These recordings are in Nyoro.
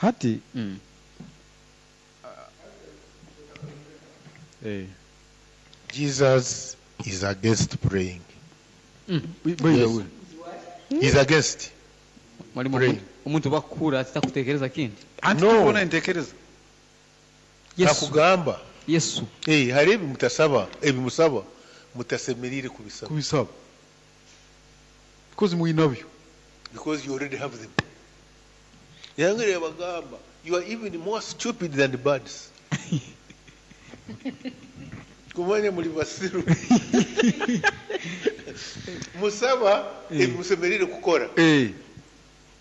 Hati Jesus is against praying. By the Yes. way. He's against Mwalimu, praying. Omuntu bakuhura atakutekereza kindi. Anti No. tubona entekereza. Yesu. Nakugamba. Yesu. Eh, hari ebi mutasaba, ebi musaba mutasemerire kubisaba. Kubisaba. Because mwinabyo. Because you already have them. Yangire bagamba, you are even more stupid than the birds. Kumanya muri basiru. Musaba ebi musemerire kukora.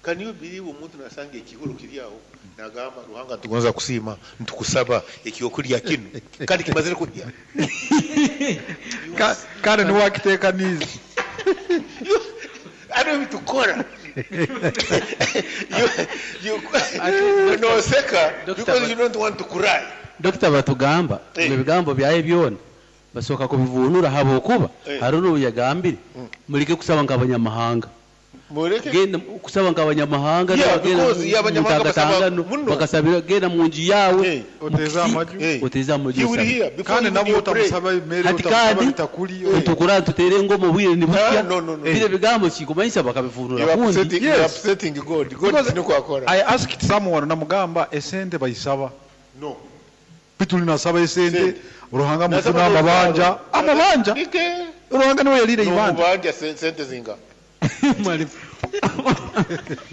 Can you believe omuntu nasanga ekihuro kiri aho nagamba Ruhanga ntugonza kusiima ntukusaba ekyokulya kinu kandi kimazire kulya. Kandi niwakitekaniza. Ano bitukora. You noseka because you don't want to cry. Dr. Batugamba ebigambo byaye byona basooka kubivunura habwokuba hari n'obu yagambire muleke kusaba nk'abanyamahanga. Muleke genda kusaba nk'abanyamahanga Yeah, n'abagenda because mu yeah, abanyamahanga basaba mutangatangano, muno. bakasabira genda mu nju yawe Oteze amaju. Oteze amaju. He will hear before Kandi even nabo you pray. otamusaba emmere, Hati otamusaba kandi bitakuli. tukura tutere ngoma obwire ni butya. Ah, no, no, no. Bire bigambo kikumanyisa bakabivunura You are kundi. upsetting, you are upsetting God. God Because niko akora. I asked someone namugamba esente bayisaba. No. Bitulinasaba esente Sente. Ruhanga Nasaba mutuna amabanja. n'oruzaaro. Amabanja. Nike. Ruhanga niwe yalire ibanja. N'omubanja sente zinga. Mwalimu.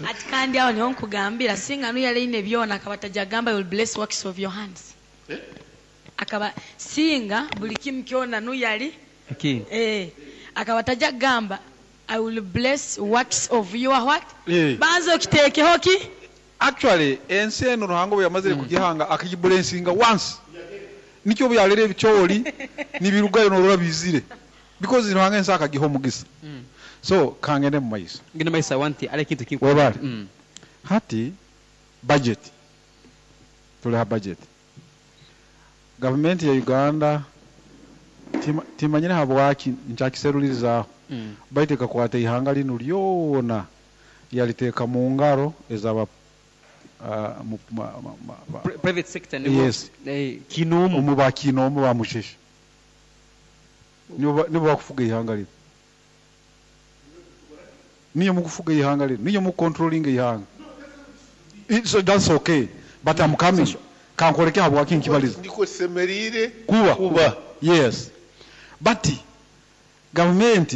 Ati kandi aho niho nkugambira singa nuyaleine byona akaba tajagamba you will bless works of your hands. Eh? Akaba singa buli kimu kyona nuyali Akini. Akaba tajagamba I will bless works of your what? Eh. Banza okiteekeho ki? Actually ensi eno Ruhanga bwe yamazire kugihanga akagibulensinga once. Nikyo bwe yalera ebikyoli nibirugayo norora bizire. Because Ruhanga ensi akagiha omugisa. So kangende mu maiso. Ngenda maiso wanti ale kintu kintu. Webale. Hati budget. Tuli ha budget. Gavumenti ya Uganda timanyire habwaki nkyakiserulirizaaho. Baitu ekakwata ihanga linu lyona yaliteeka mu ngaro ezaba Private sector nibo. Yes. Kinomu. Omu ba kinomu ba musheshe. Nibo bakufuga ihanga lino. Niyo mukufuga ihanga lino. Niyo mu controlling ihanga. So that's okay. But I'm coming. Kankoreke habwaki nkibaliza. Ndiko semerire Kuba. Kuba. Yes. But government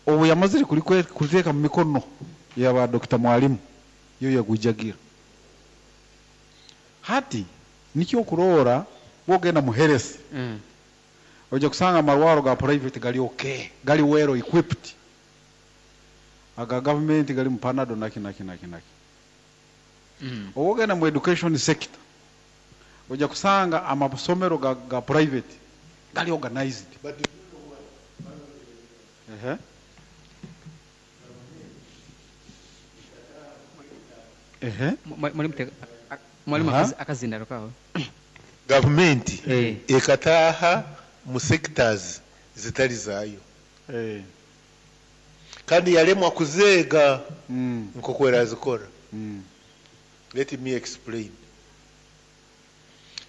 obu yamazire kuliteeka mu mikono ya ba Dr. Mwalimu yo yagujagira. Hati nikyo kurora wogenda mu health. Ojja kusanga amarwaro ga private gali okay, gali well equipped. Aga government gali mu Panado naki naki naki naki. Owogenda mu education sector ojja kusanga amasomero ga private gali organized. But Mwalimu akazindaro kawe. Government ekataha mu sectors zitali zayo. Kandi yalemwa kuzeega nk'oku erazikora. Let me explain.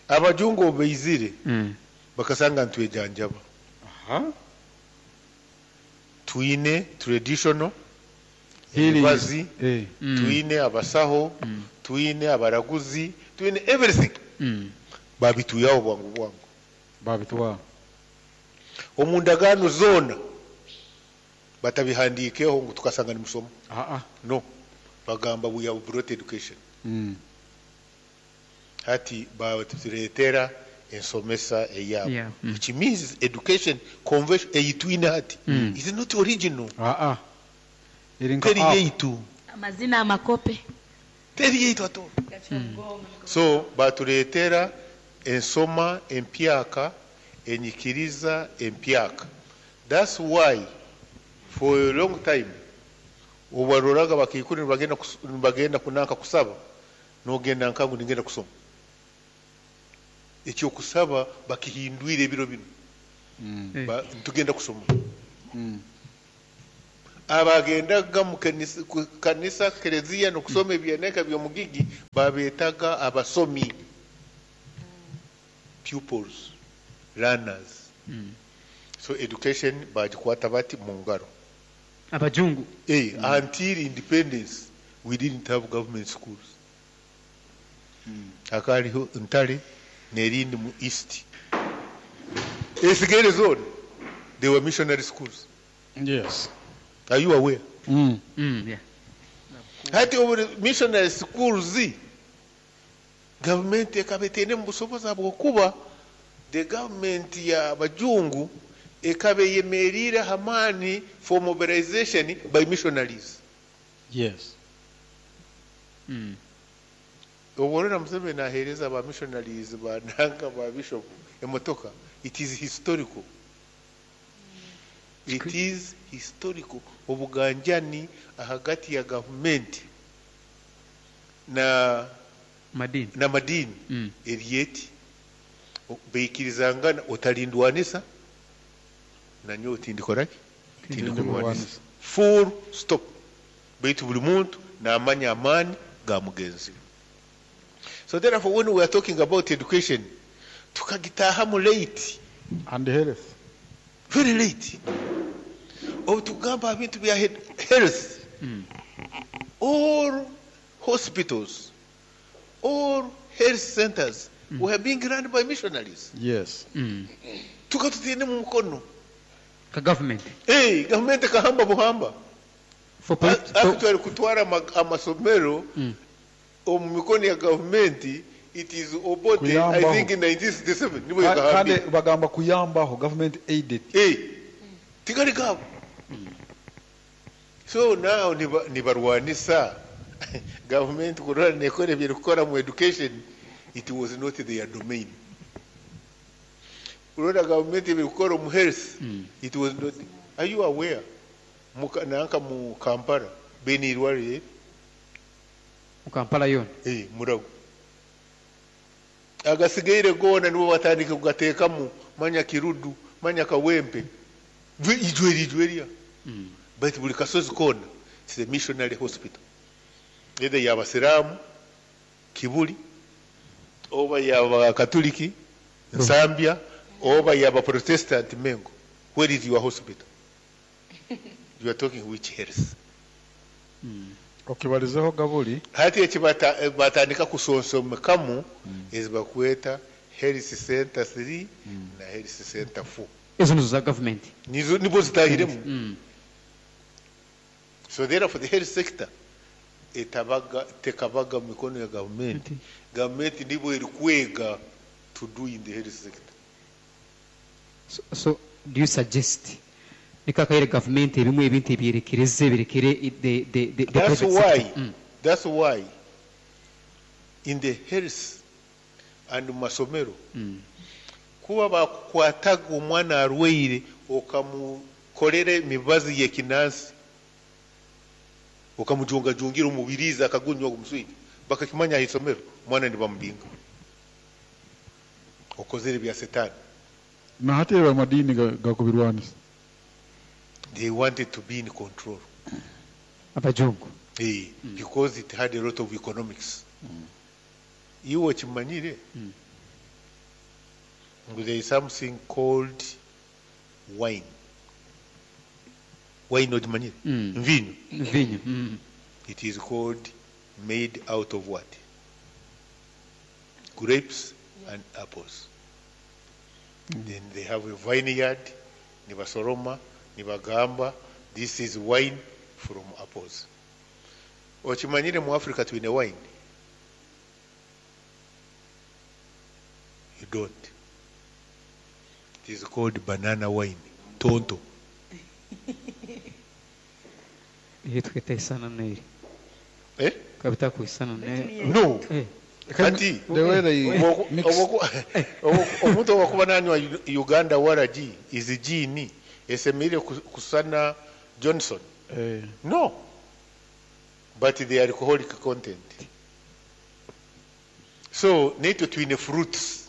Abajungu obeizire bakasanga ntwejanjaba. Twine traditional emibazi, twine abasaho, twine abaraguzi, twine everything. Babituyaho bwangu bwangu. Babitwa. Omundagaano zona batabihandikeho ngu tukasanga ni musomo. No. Bagamba we have brought education. Hati batuleetera ensomesa eyabo. Which means education convention eyitwine hati is not original. Teri yeitu. Amazina amakope. Teri yeitu ato. So batuleetera ensoma empyaka, enyikiriza empyaka. That's why for a long time obaroraga bakaikuru nibagenda kunanka kusaba nogenda nkangu nigenda kusoma. Ekyo kusaba bakihindwire ebiro bino. Ntugenda kusoma. Abagendaga mu kanisa, kereziya, n'okusoma ebyaneka by'omugigi babetaga abasomi, pupils, learners. So education bagikwata bati mu ngaro. Abajungu. Until independence we didn't have government schools. Hakariho Ntare n'erindi mu east. Esigaire zone they were missionary schools. Yes. Are you aware? Yeah. Hati obu missionary schools, gavumenti ekaba etaine mu busobozi habwokuba the government ya bajungu ekaba eyemeriire hamaani for mobilization by missionaries. Yes. Obu orora Museveni aheereza ba missionaries, bananga ba bishop emotoka, it is historical, it is historical. Obuganjani ahagati ya gavumenti na madini, na madini eryeti baikirizangana, otalindwanisa nanyowe tindikoraki, tindikurwanisa, full stop. Baitu buli muntu namanya amaani ga mugenzi we. So therefore, when we are talking about education, tukagitahamu late. And health. Very late. Obu tugamba ebintu bya health, all hospitals, all health centers were being run by missionaries. Yes. Tukatutiine mu mukono ka government. Hey, gavumenti ekahamba buhamba. For Actually, kutwara amasomero omu mikono ya gavumenti, it is Obote, I Kuyambaho. think in 1967 nibwo Kandi yakahambire. bagamba kuyambaho, government aided. Hey, tigali gabo. So now nibarwanisa gavumenti kurora nekora ebyerikukora mu education. It was not their domain. Kurora gavumenti ebirikukora omu health, it was not. Are you aware nanka mu Kampala bene irwarire? Mu Kampala yona? Eh, Murago. Agasigaire goona nibo batandika kugateekamu, manya Kirudu, manya Kawempe, ijweri ijwerya. But buli kasozi koona it's a missionary hospital, either yabasiraamu Kibuli, oba yabakatuliki Nsambya, oba yaba Protestant Mengo. Where is your hospital? You are talking which health? Okibalizeho gabuli. Hati eki batandika kusonsomekamu ezi bakweta health center 3 na health center 4. Ezo nizo za government. Nizo nibo zitahiremu. So therefore the health sector etabaga tekabaga mu mikono ya gavumenti. Gavumenti nibo erikwega to do in the health sector. So do you suggest nikakaire government ebimwe ebintu ebyerekereze birekere the That's private why sector? That's why in the health and mu masomero, kuba bakukwataga omwana arwaire, okamukolera emibazi y'ekinansi, okamujungajungira omubirizi, akagunywa omuswija, bakakimanya aha isomero, omwana nibamubinga, okozere bya Setaani. Na hati amadini gakubirwanisa. They wanted to be in control. Abajungu. Eh, because it had a lot of economics. Iwe okimanyire ngu there is something called wine. Wine ogimanyire? Nvinyo. Mvinyo. It is called made out of what? Grapes and apples. Then they have a vineyard, nibasoroma, nibagamba this is wine from apples. Okimanyire mu Africa twine wine? You don't. It is called banana wine, tonto. Iyo twita isana neri. Eh? Kabita kuisana ne. No. Eh. Kati The way they mix. Omuntu owakuba nanywa Uganda waragi izi gin esemerire kusana Johnson? Eh, No, but the alcoholic content. So naitwe twine fruits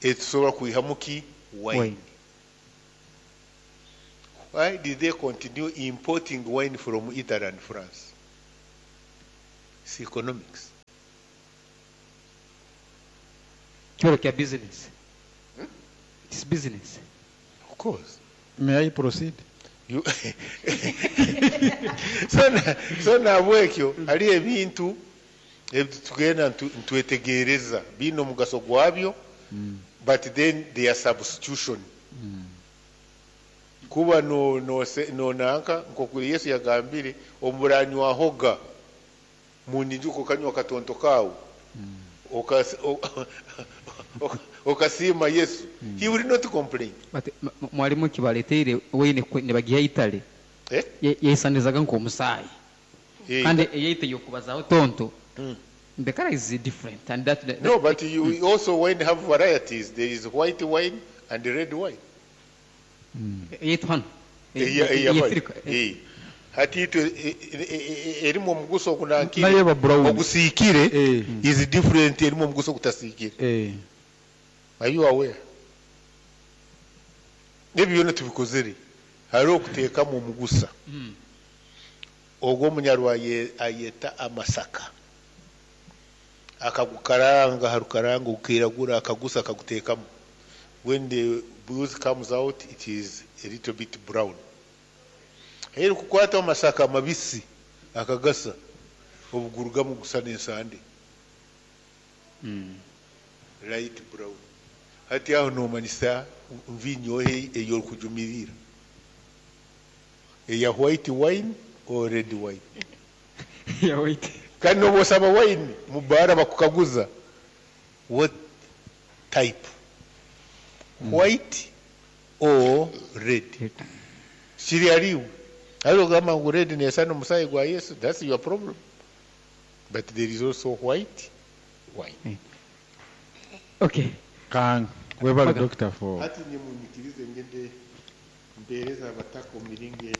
etusobola kwihamu ki? Wine. Wine. Why did they continue importing wine from Italy and France? It's economics. Kibero kya business. It's business. Of course. May I proceed? You so nabwekyo hali ebintu tugenda ntwetegereza biine omugaso gwabyo, but then their substitution. Kuba no no no nanka nkoku Yesu yagambire, oburanywahoga munyijuko kanywa katonto kawe okasiima Yesu, he will not complain. But mwalimu kibaleteire wine nibagiha Italy. Eh? Yeisanizaga nk'omusaayi. Eh. Kandi eyeite yokubazaho tonto. The color is different, and that No, but you also wine have varieties. There is white wine and red wine. Eyeitu hano. Eya hati itwe erimu omuguso ogunankire Naye eba brown. Ogusiikire is different erimu omuguso ogutasiikire. Are you aware? Ebyo byona tubikozere hariho okuteekamu omugusa. Ogwo omunyarwa ayeta amasaka, akagukaranga harukaranga ukairagura, akagusa akaguteekamu. When the booze comes out, it is a little bit brown. Heri kukwata amasaka mabisi akagasa obugurugamu gusa n'ensande. Light brown. Hati aho nomanyisa nvinyo eyorikujumirira, eya white wine or red wine? Ya white. Kandi noba osaba wine mubara bakukaguza what type, white or red? Kiri hariwe hariho ogamba ngu red nesana omusaayi gwa Yesu, that's your problem, but there is also white wine. Okay. Kang, webale doctor for Hati nyemunyikirize ngende mpereza abataka omu miringo eni.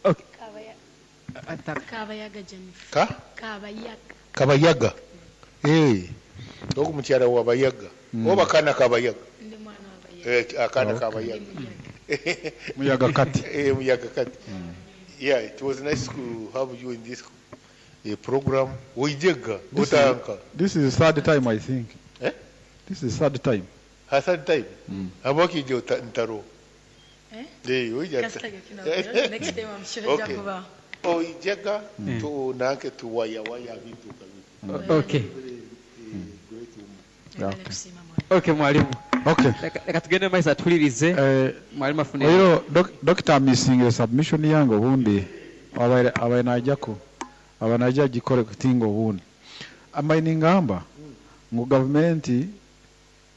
Okay. Kabayaga Jennifer. Ka? Kabayaga. Kabayaga. Eh. Ogu mukyala wa Bayaga. Oba kana Kabayaga. Ndi mwana wa Bayaga. Eh, akana Kabayaga. Muyaga kati. Eh, muyaga kati. Yeah, it was nice to have you in this program. Oijega, otanka. This is the third time, I think. Eh? This is the third time. Ha, third time. Habwaki ije ntaro. Eh? Eh, oija. Kasitaga kino. Next time I'm sure Okay. nja Oijega tu nanke tu waya waya bintu kabisa. Okay. Great woman. Okay. Okay, mwalimu. Okay. Leka tugende maiso atulirize. Mwalimu afune. Oiro doctor missing submission yange obundi abaire najako aba najja gikore kutinga obundi ambaye ningamba ngu gavumenti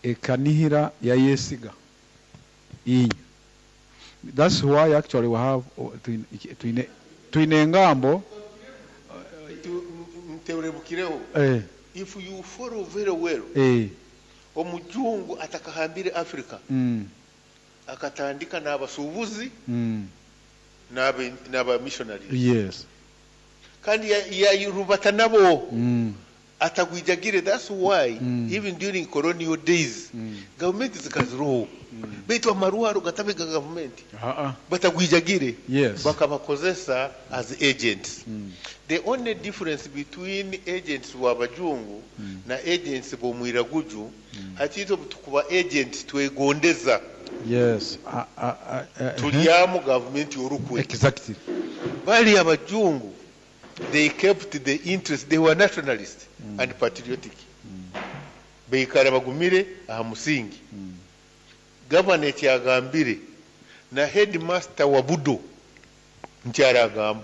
ekanihira yayesiga inyu. That's why actually we have twine engambo. Nterebukireho. If you follow very well, omujungu atakahambire Africa, akatandika n'abasuubuzi n'aba missionaries. Yes. Kandi yayirubata nabo. Atagwijagire. That's why even during colonial days, government zikaziroho. Baitu amaruharo gatabe ga government. Batagwijagire. Yes. Bakabakozesa as agents. The only difference between agents w'abajungu na agents b'omwiraguju, hatito tukuba agents twegondeza. Yes. Tulyamu government yorukwe. Exactly. Bali abajungu, they kept the interest, they were nationalist and patriotic. Beikara bagumire aha musingi. Governor kyagambire na headmaster wa Budo nkyaragamba.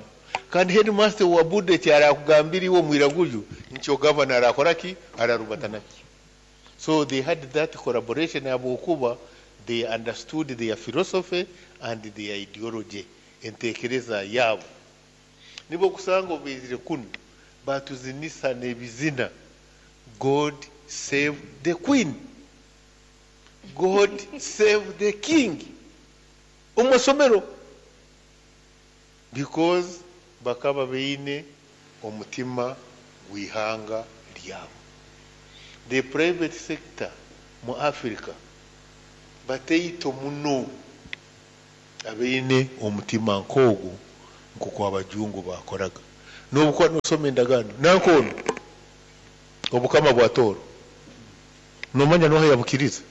Kandi headmaster wa Budo kyarakugambira iwe mwiraguju nkyo governor arakora ki ararubata naki. So they had that collaboration abokuba they understood their philosophy and their ideology entekereza yabo. Nibo kusanga obizire kuno batuzinisa n'ebizina God save the queen, God save the king omusomero, because bakaba beine omutima gwihanga lyabo. The private sector mu Africa Bataito muno abaine omutima nk'ogwo nk'oku abajungu bakoraga. N'obukuba nosoma endagaano nankono obukama bwa Tooro, nomanya noha yabukiriza?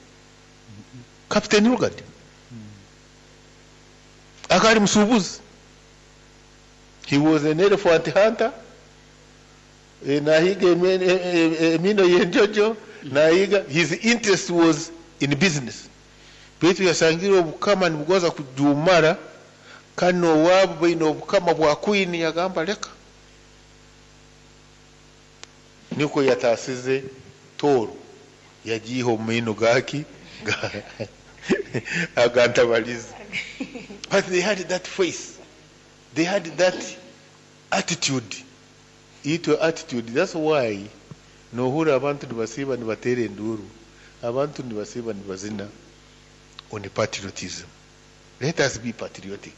Captain Lugard akali musuubuzi. He was an elephant hunter. Nahiga emino y'enjojo, nahiga. His interest was in business, baitu yasangire obukama nibugonza kujumara, kandi n'owaabo baine obukama bwa queen. Yagamba leka, nikwo yatasize Tooro, yagiiha omu maino gaki agantabalizi. But they had that face, they had that attitude. Itwe attitude, that's why nohura abantu nibasiiba nibateera enduru, abantu nibasiiba nibazina on patriotism. Let us be patriotic,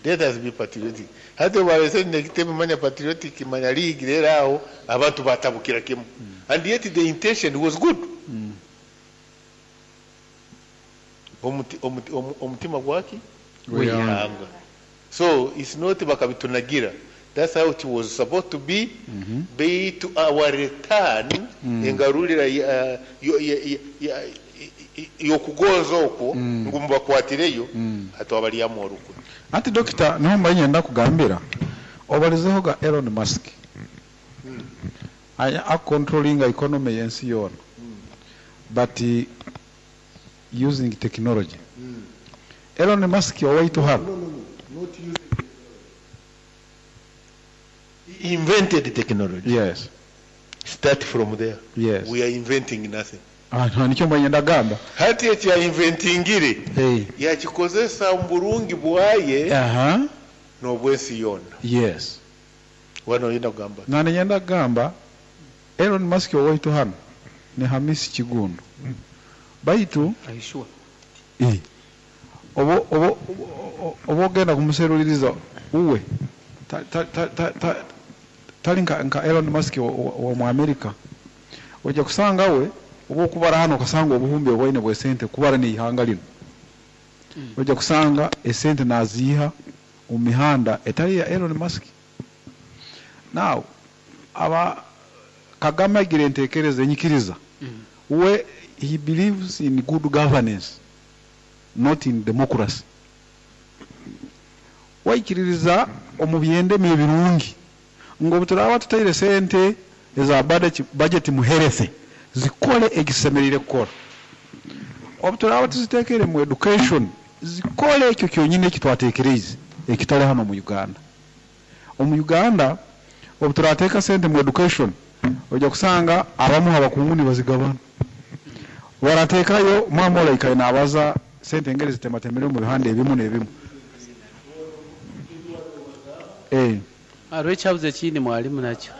let us be patriotic. Hati obalese nekitebe manya patriotic, manya league, rero aho abantu batabukira kimu, and yet the intention was good. Omutima gwaki? Gw'ihanga. So it's not bakabitunagira, that's how it was supposed to be. Baitu our return, engarulira y'okugonza okwo, ngu mubakwatireyo, hati wabalyamu orukwe. Anti dokita, niho mbaye nyenda kugambira obalizeho ga Elon Musk aya acontrollinga economy y'ensi yoona, but using technology. Elon Musk owaitu hano. No, no, no, not using. He invented technology. Start from there. We are inventing nothing. Ah, nikyo mbaye nyenda gamba. Hati eki yainventingire, yakikozesa mu burungi bwaye n'obwensi yoona. Wano oyina kugamba. Nane nyenda kugamba Elon Musk owaitu hano ni Hamisi Kigundu, baitu Are you sure? Eh, oba ogenda kumuseruliriza uwe tali nka Elon Musk wa mu America. Ojja kusanga we oba okubara hano okasanga obuhumbi obwaine bwesente kubara n'ihanga lino, ojja kusanga esente naziiha omu mihanda etali ya Elon Musk. Now aba Kagame agira entekereza enyikiriza, we he believes in good governance, not in democracy. Waikiririza omu byendemi ebirungi, ngu obu turaba tutaire sente eza budget mu health, zikole ekisemerire kukora. Obu turaba tuzitekere mu education, zikole ekyo kyonyine ekitwatekereize, ekitali hano mu Uganda. Omu Uganda obu turateeka sente mu education, ojja kusanga abamu abakungu nibazigabana, barateekayo mwama olaikaye nabaza sente engeri zitematemere mu bihanda ebimu n'ebimu. Hariho ekyabuze ekindi mwalimu nakyo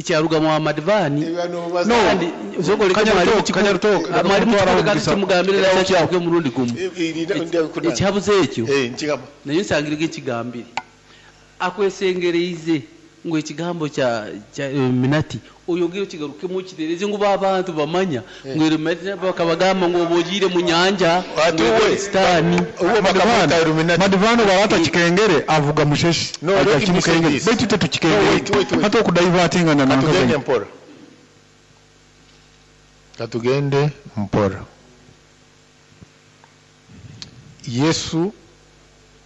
kyaruga mu Madivani. No. Kandi osobola mwalimu. Kanyarutoka, mwalimu kutwara kikoleka omugisa. kimugambire nakyo omurundi gumu. Ekyabuze ekyo Nkigamba. Naye nsangirege ekigambire akwesengereize ngu ekigambo kya Illuminati oyongere okigarukemu okitereze ngu abantu bamanya ngu Illuminati bakabagamba ngu oba ogiire mu nyanja Ati ngu uwe sitaani. Uwe bakamwita Illuminati. Madivano barata kikengere avuga musheshi. No, Aja let me say kimukengere. this. Baitu te tukikengere. No, wait, wait, wait. Hata okudivertingana Katugende nankazanye. mpora, katugende mpora. Yesu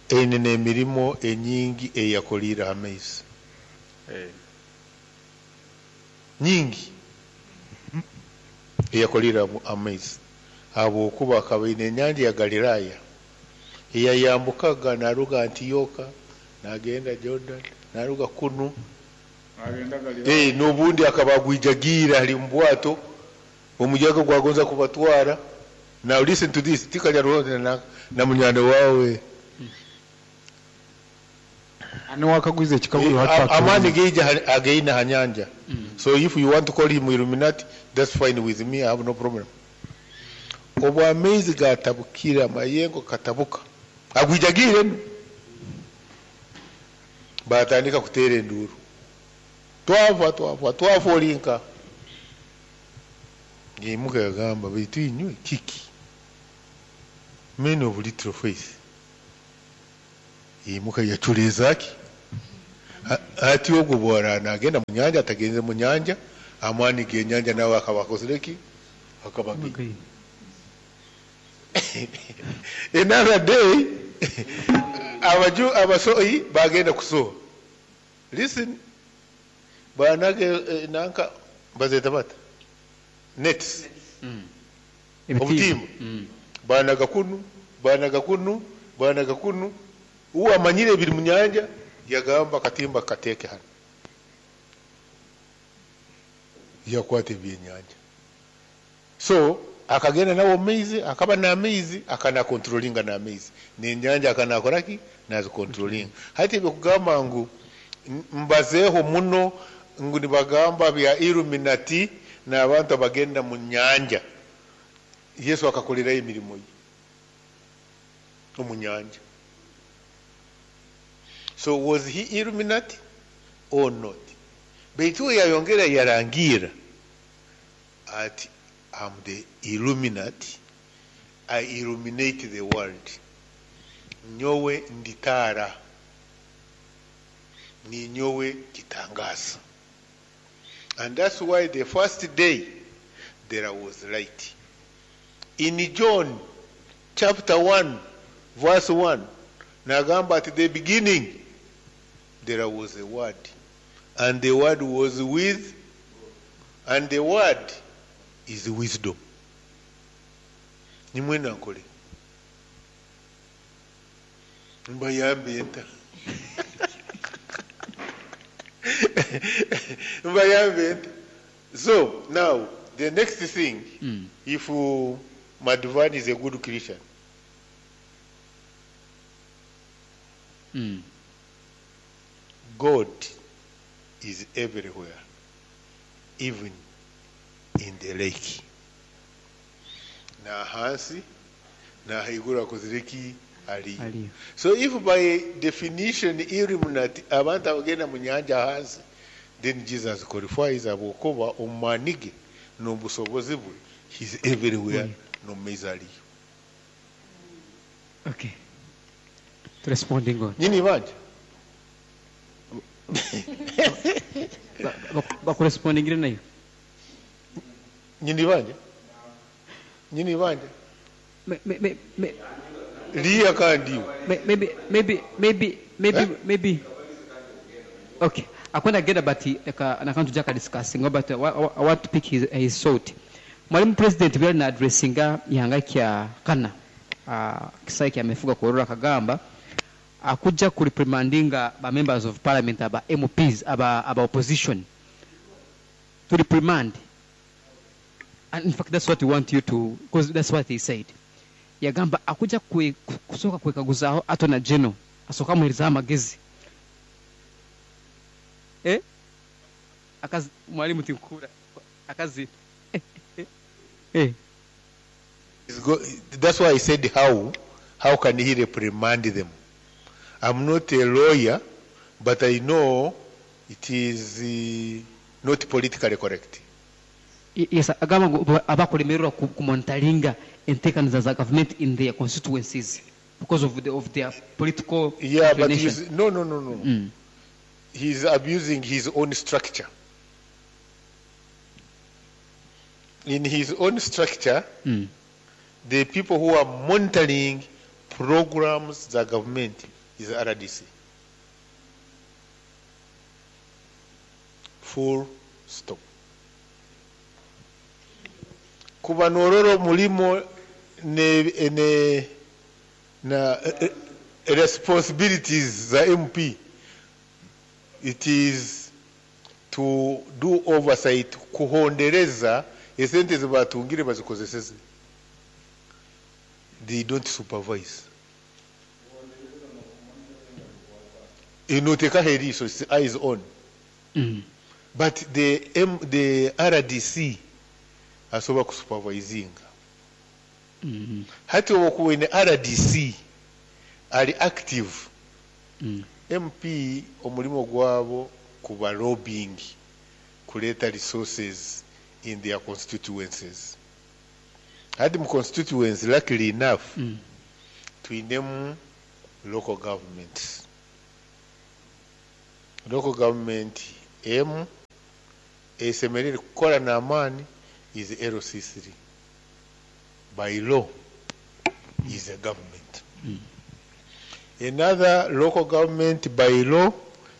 eine n'emirimo enyingi eyakoliire amaizi nyingi eyakoliire amaizi, habwokuba akaba aine enyanja ya Galiraaya eyayambukaga naruga Antiyoka nagenda Jordan, naruga kunu. N'obundi akaba agwijagiire ali mu bwato, omuyaga gwagonza kubatwara. Now listen to this, tikalya na munywani wawe. Niwakagwiza ekikaguzo. Amaani geija ageina ha nyanja. So if you want to call him Illuminati, that's fine with me, I have no problem. Obu amaizi gatabukire, amayengo katabuka, agwijagiire no batandika kuteera enduru, "Twafa, twafa, twafa olinka." Ngimuka yagamba, "Baitu inywe kiki?" Men of little faith. Yimuka yaculeeza ki? Ati ogwo bwara nagenda mu nyanja, atagenze mu nyanja, amaani g'enyanja nawe akaba akozire ki? Akaba. Another day, abaju abasoyi bagenda kusoha. Listen, banage nanka bazeta bata? Nets. Obutimba. Banaga kunu, banaga kunu, banaga kunu. Uwo amanyire ebiri mu nyanja yagamba katimba kateeke hano. Yakwata ebyenyanja. So akagenda nawo maizi, akaba n'amaizi, akana controllinga n'amaizi. N'enyanja akanakora ki? Nazicontrollinga. Hati ebyo ngu mbazeeho muno ngu nibagamba bya Illuminati n'abantu abagenda mu nyanja. Yesu akakolerayo emirimo ye omu nyanja. So was he Illuminati or not? Baitu we yayongera yarangira ati, I'm the Illuminati, I illuminate the world. Nyowe nditara, ninyowe kitangaza. And that's why the first day there was light. In John chapter 1 verse 1, nagamba at the beginning there was a word, and the word was with, and the word is wisdom. Nimwena nkole mbayambe nta mbayambe nta. So now the next thing, if Madhvani is a good Christian, God is everywhere, even in the lake. Na hansi na haiguru akozire ki? Ali. Aliyo. So if by definition Illuminati abantu abagenda mu nyanja hansi, then Jesus qualifies ahabwokuba omu ge n'obusobozi bwe, he's everywhere, no maizi aliyo. Okay. To responding on. Nyini banja? Bakurespondingire nayo. Nyini banja? Nyini banja? Me, me, me, me, Liya kandi. Maybe, maybe, maybe, maybe, Eh? Maybe. Okay. Akwenda genda, but eka nakantu jaka discussing, but I want to pick his thought. Mwalimu President byali na addressinga ihanga kya kana kisai kya mefuga kurora kagamba akujja ku reprimandinga ba members of parliament, aba MPs, aba opposition to reprimand. And in fact that's what we want you to, because that's what he said. Yagamba akuja kusooka kwekaguzaaho Attorney General asooka amuheereza amagezi, eh? Akazi mwalimu tinkura akazi, eh. That's why I said how can he reprimand them? I'm not a lawyer, but I know it is not politically correct. Yes, agamba ngu abakulemererwa kumonitoringa enteekaniza za government in their constituencies because of their political Yeah, but inclination. he's, no. He's abusing his own structure. In his own structure, the people who are monitoring programs the government is RDC. Full stop. Kuba nororo mulimo ne na responsibilities za MP, it is to do oversight, kuhondereza esente zibatungire bazikozeseze. They don't supervise. Inotekaho eriiso, it's eyes on. But the RDC asobola kusupervisinga. Hati owokuba oine RDC ali active, MP omulimo gwabo kuba lobbying, kuleeta resources in their constituencies. Hati mu constituency, luckily enough, Twinemu local governments. Local government emu esemerire kukora n'amaani is LC3. By law is a government. Another local government by law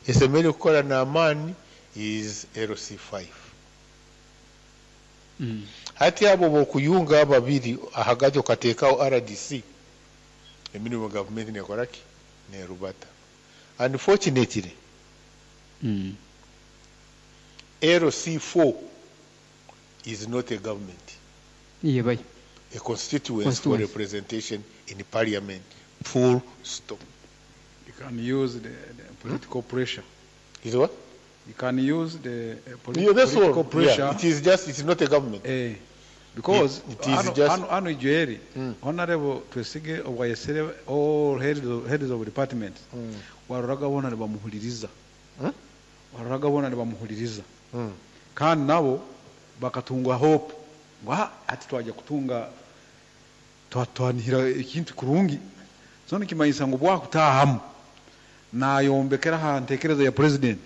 esemerire kukora n'amaani is LC5. Hati abo bokuyunga ababiri ahagati okateekaho RDC, emirimu gavumenti nekora ki? Nerubata. Unfortunately, LC4 is not a government. Iye bai. A constituency for Constituency. representation in parliament. Full stop. You can use the political pressure. Is what? You can use the Yeah, that's all. political pressure. Yeah, it is just, it's not a government. Because It is hano, just- hano Joel, Honorable Twesige obwayesere all heads of departments, waroraga bona nibamuhuliriza. Waroraga bona nibamuhuliriza. Kandi nabo bakatunga hope ngo hati twajya kutunga twanihira ekintu kurungi. So nikimanyisa ngu bwakutahamu nayombekera ha ntekereza ya president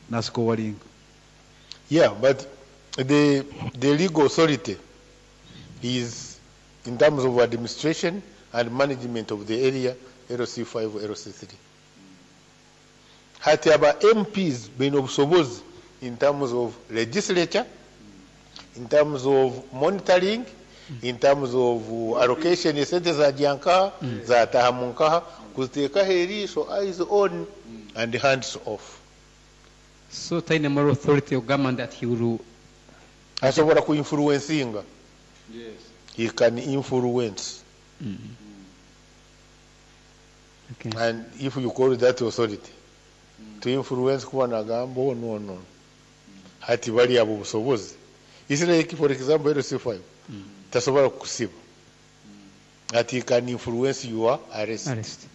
nasiko walinga. Yeah, but the legal authority is in terms of administration and management of the area, LC5, LC3. Hati aba MPs baine obusobozi in terms of legislature, in terms of monitoring, in terms of allocation esente zajya nkaha, zataha mu nkaha, kuziteekaho eriisho, eyes on and hands off. So taine moral authority ogamba that he will Asobola kuinfluencinga. Yes. He can influence. Okay. And if you call that authority, to influence kuba nagamba oh, no, no. Hati bali abo busobozi. Israel, for example, LC5, tasobola kukusiba. Hati he can influence your arrest. Arrest.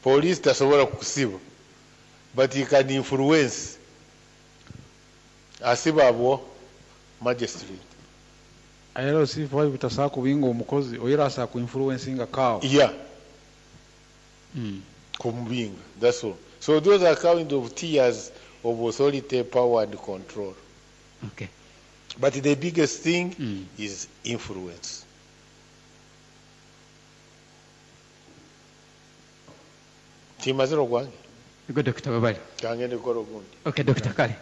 Police tasobola kukusiba. But he can influence. Asiba abo magistrate. LC5 tasobola kubinga omukozi oyera asobola kuinfluencinga kawo. Yeah. Kumubinga, that's all. So those are kind of tiers of authority, power and control. Okay. But the biggest thing is influence. Timazire ogwange. Ego Dr. Babali. Kangende kukora ogundi. Okay, Dr. Kale.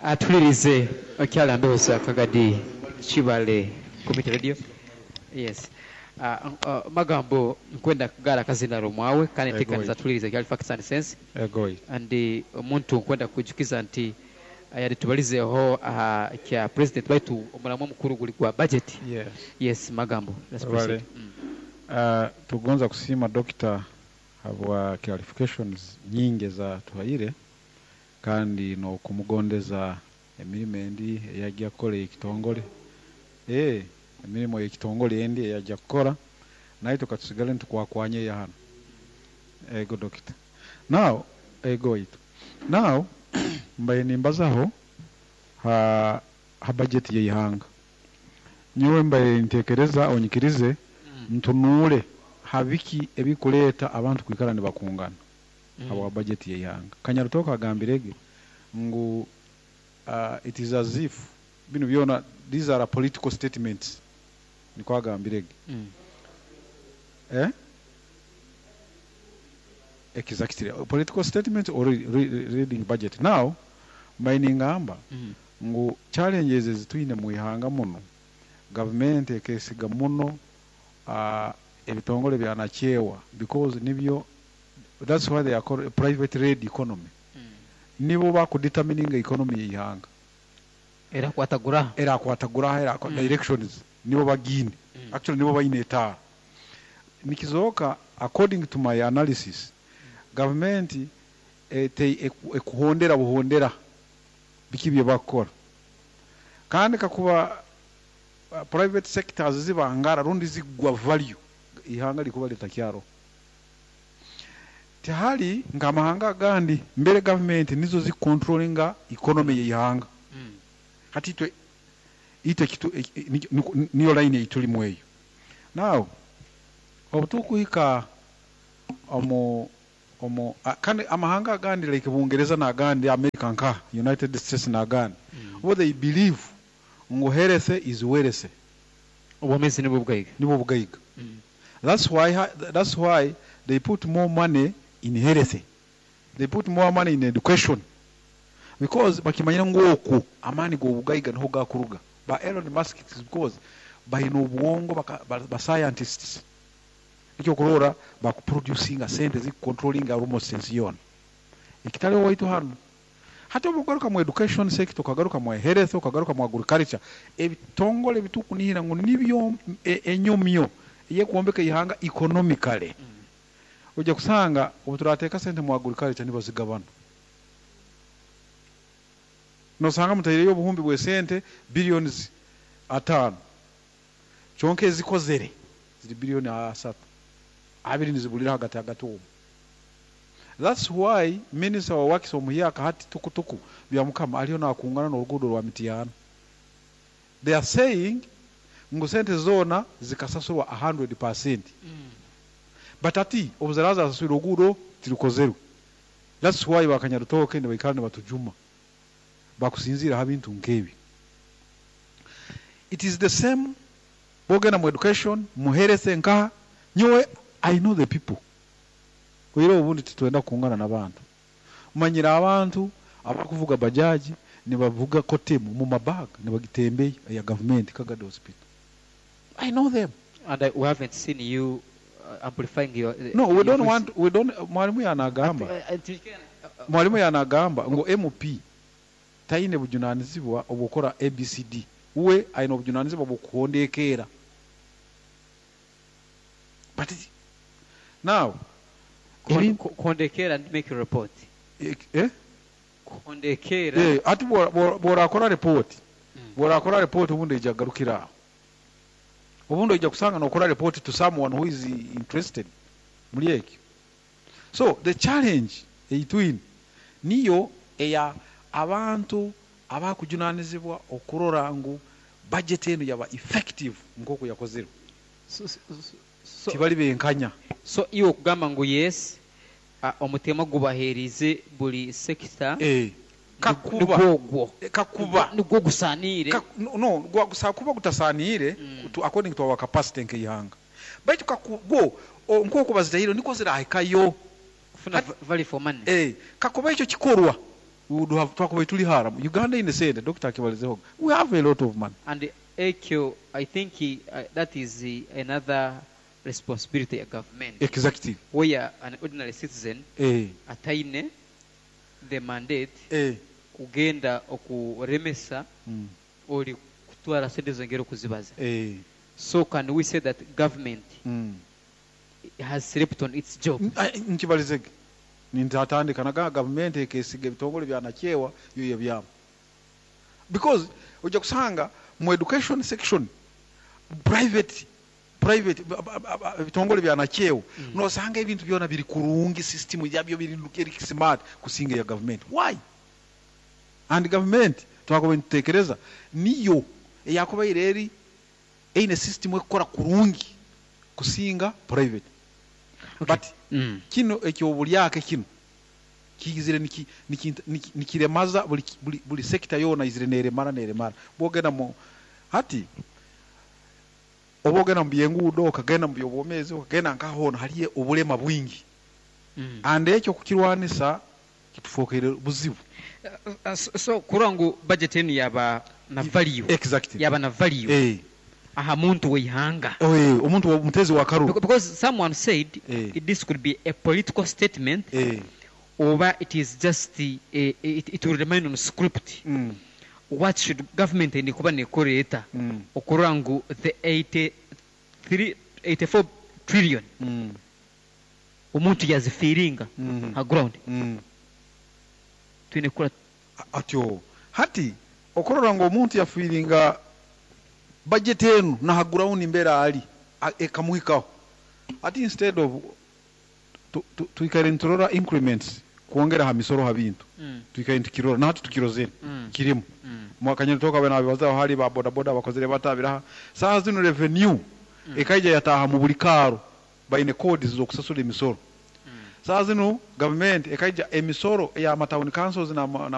Atulirize okyala mbeho Kagadi Kibale Community Radio. Yes. Magambo nkwenda kugara kazina romwawe kandi nteekaniza tulirize kyali facts and sense. Egoi. And omuntu nkwenda kujukiza nti yali tubalizeho kya president baitu omulamu omukuru guli gwa budget. Yes. Yes, magambo. Let's proceed. Tugonza kusiima doctor habwa clarifications nyingi za tuhaire kandi no kumugondeza emirimo endi eyajja kukola ekitongole. Emirimo y'ekitongole endi eyajja kukola naye tukatusigale ntukwakwanye ya hano. Ego doctor. Now, ego itu. Now mbaye nimbazaho ha budget y'ihanga. Nyowe mbaye ntekereza onyikirize ntunule habiki ebikuleta abantu kwikara nibakungana habwa budget y'ihanga. Kanyarutoka agambirege ngu it is as if bino byona these are political statements. Niko agambirege. Exactly. Political statements or reading budget. Now mbaye ngu challenges ezitwine mu ihanga muno government ekesiga muno ebitongole bya nakyewa because nibyo that's why they are called a private led economy. Nibo bakudetermininga economy y'ihanga. Era kwatagura. Era kwatagura era directions nibo bagine. Actually nibo bayine etaara. Nikizoka according to my analysis government ekuhondera buhondera biki bye bakora. Kandi kakuba private sectors zibangara rundi zigwa value ihanga likuba litakyaro. Tihali ngamahanga agandi mbere government nizo zi controllinga economy y'ihanga. Hati itwe ite kitu niyo line ituli mweyo. Now Obu tukuhika omu kandi amahanga agandi like Bungereza n'agandi, America nka United States n'agandi, bo they believe ngu health is wealth. Obwomezi nibwo bugaiga. Nibwo bugaiga. That's why they put more money in health, they put more money in education, because bakimanyire ngu okwo amaani g'obugaiga niho gakuruga. Ba Elon Musk is because baine obwongo, ba scientists, nikyo kurora bakuproducinga sente zikucontrollinga almost ensi yoona, ekitaliho waitu hanu. Hati obu ogaruka mu education sector, ukagaruka mu health, ukagaruka mu agriculture, ebitongole bitukunihira ngu nibyo enyomyo eyekwombeka ihanga economically, ojja kusanga obu turateeka sente mu agriculture nibazigabana. Nosanga mutaireyo obuhumbi bw'esente billions 5, kyonka ezikozere ziri biliyoni 3, abiri nizibulira hagati hagati omwo. That's why minister wa works omuhyaka hati tukutuku Byamukama aliyo nakungana n'oruguudo rwa Mityana. They are saying ngu sente zoona zikasasurwa 100%, but ati obu ziraaba zasaswire, oruguudo tirukozerwe. That's why bakanyarutoke nibaikara nibatujuma bakusinziira ha bintu nk'ebi. It is the same bwogenda mu education, mu health nkaha. Nyowe I know the people. Oire obundi titwenda kukungana n'abantu, manyire abantu abakuvuga bajaji, nibavuga Coartem mu mabaga, nibagitembeya ya gavumenti Kagadi Hospital. I know them. And we haven't seen you amplifying your No, we your don't voice. want, we don't. Mwalimu yanagamba, mwalimu yanagamba ngu MP taine bujunanizibwa obukora ABCD, we aine obujunanizibwa bwokuhondekeera. But now Kuhondekera and make a report. Eh? Kuhondekera. Eh, ati bworakora report, bworakora report, obundi ija garukira aho. Obundi ojja kusanga nokora report to someone who is interested muri ekyo. So the challenge eitwine niyo eya abantu abakujunanizibwa okurora ngu budget eno yaba effective nk'oku yakozerwe. So Tibali benkanya. So iwe okugamba ngu yes, omutema gubaheerize buli sector, Kakuba nigwogwo kakuba nigwo gusaaniire. No, kuba gutasaniire according to our capacity nk'eihanga, baitu kakugwo nk'oku bazitahire niko zirahikayo. Kufuna value for money. Kakuba ekyo kikorwa, we would have, twakuba tuli hara. Uganda ine sente, Dr. akibalizeho, we have a lot of money. And ekyo I think that is another responsibility ya government, where an ordinary citizen ataine the mandate kugenda okuremesa oli kutwara sente zongera okuzibaza. So can we say that government has slept on its job? Nkibalizege nintatandika naga gavumenti ekesiga ebitongole byanakyewa yo yebyama, because ojja kusanga mu education section private ebitongole byanakyewa, nosanga ebintu byona biri kurungi, system yabyo biri eri smart kusinga ya government. Why? And government twakuba nitutekereza niyo eyakubaire eri eine system ekukora kurungi kusinga private. But kino ekyobulyake kino kiyizire nikiremaza buli sector yona, izire neremara neremara. Bwogenda mu hati, oba ogenda mu byenguudo, okagenda mu byobwomezi, okagenda nkahona, haliyo obulema bwingi. And ekyo kukirwanisa kitufookere buzibu. So kurora ngu budget enu yaba na value, yaba na value aha muntu weihanga. Eh, omuntu omutezi wa karuru. Because someone said this could be a political statement, oba it is just it will remain on script. What should government eni kuba nekoreeta okurora ngu the 83 84 trillion omuntu yazifiiringa ha ground? Twine kukora. Atyo hati okurora ngu omuntu yafiiringa budget enu naha ground mbera ali ekamuhikaho. Ati instead of twikare niturora increments kwongera ha misoro ha bintu, twikare nitukirora nahati tukirozere kirimu. Mwakanyoni toka bena bibazaho hari ba boda boda bakozere batabiraha. Saha zino revenue ekaija yataha mu buli karo. Baine codes z'okusasura emisoro. Saa zinu gavumenti ekaija emisoro ey'ama town councils n'ama